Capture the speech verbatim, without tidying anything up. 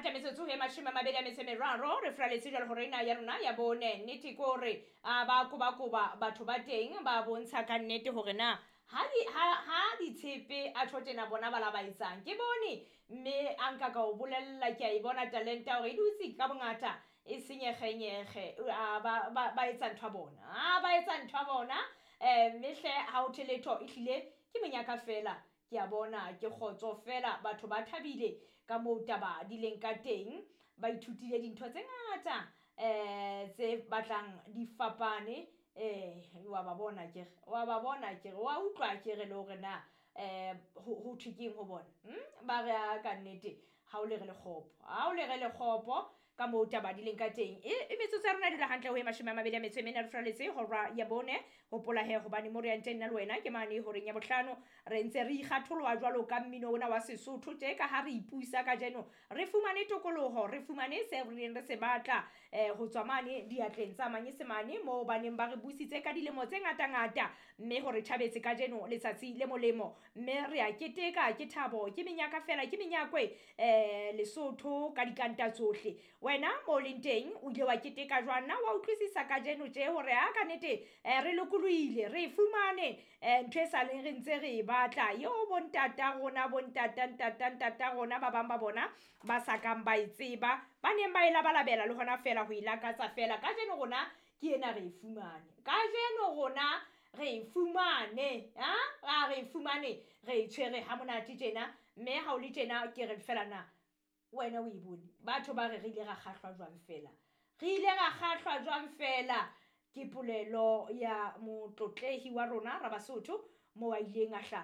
Hantle metsotso e mashome a mabedi a metso e meraro re furaletse jwale hore ena ya rona ya bone. Nnete ke hore a ba kobakoba batho ba teng ba bontsha ka nnete hore na ha di ha ha ditshepe a tjho tjena bona ba la ba etsang. Ke bone mme a nka ka o bolella ke a e bona talenta hore e dutse ka bongata e senyegenyege a ba ba ba etsa ntho ya bona. A ba etsa ntho ya bona eh mme hle ha ho thwe letho ehlile ke monyaka fela. Ke a bona ke kgotso fela batho ba thabile ka moo taba di leng ka teng. Ba ithutile dintho tse ngata eh tse batlang di fapane eh wa ba bona akere wa ba bona akere wa utlwa akere le hore na eh ho ho thwe keng ho bona. Hmm? Ba re a ka nnete ha o lere lekgopo, ha o lere lekgopo ka moo taba di leng ka teng. E e metsotso ya rona e dula hantle ho e mashome a mabedi a metso e mene re furaletse hora ya bone. Hopola he hobane mo re yang teng nna le wena ke mane horeng ya bohlano re ntse re ikgatholoha jwalo ka mmino ona wa Sesotho tje ka ha re ipusa kajeno re fumane tokoloho re fumane se re neng re se batla eh ho tswa mane diatleng tsa manyesemane moo ba neng ba re busitse ka dilemo tse ngata ngata mme hore thabetse kajeno letsatsi le molemo mme re a keteka ke thabo ke menyaka fela ke menyakwe eh Lesotho ka dikanta tsohle. Wena mo leng teng o ile wa keteka jwang? Na wa utlwisisa kajeno tje hore ha ka nnete eh re lokolohile re fumane eh ntho e saleng re ntse re e batla eo bontata rona bontata ntata ntata rona ba bang ba bona ba sa kang ba e tseba ba neng ba e labalabela le hona fela ho e lakatsa fela. Kajeno rona ke ena re e fumane, kajeno rona re e fumane ha ra re e fumane re e tshwere ha monate tjena mme ha o le tjena ke re fela na wena o e bone. Batho ba re re ile ra kgahlwa jwang fela, re ile ra kgahlwa jwang fela ke polelo ya motlotlehi wa rona ra Basotho moo a ileng a hlaha.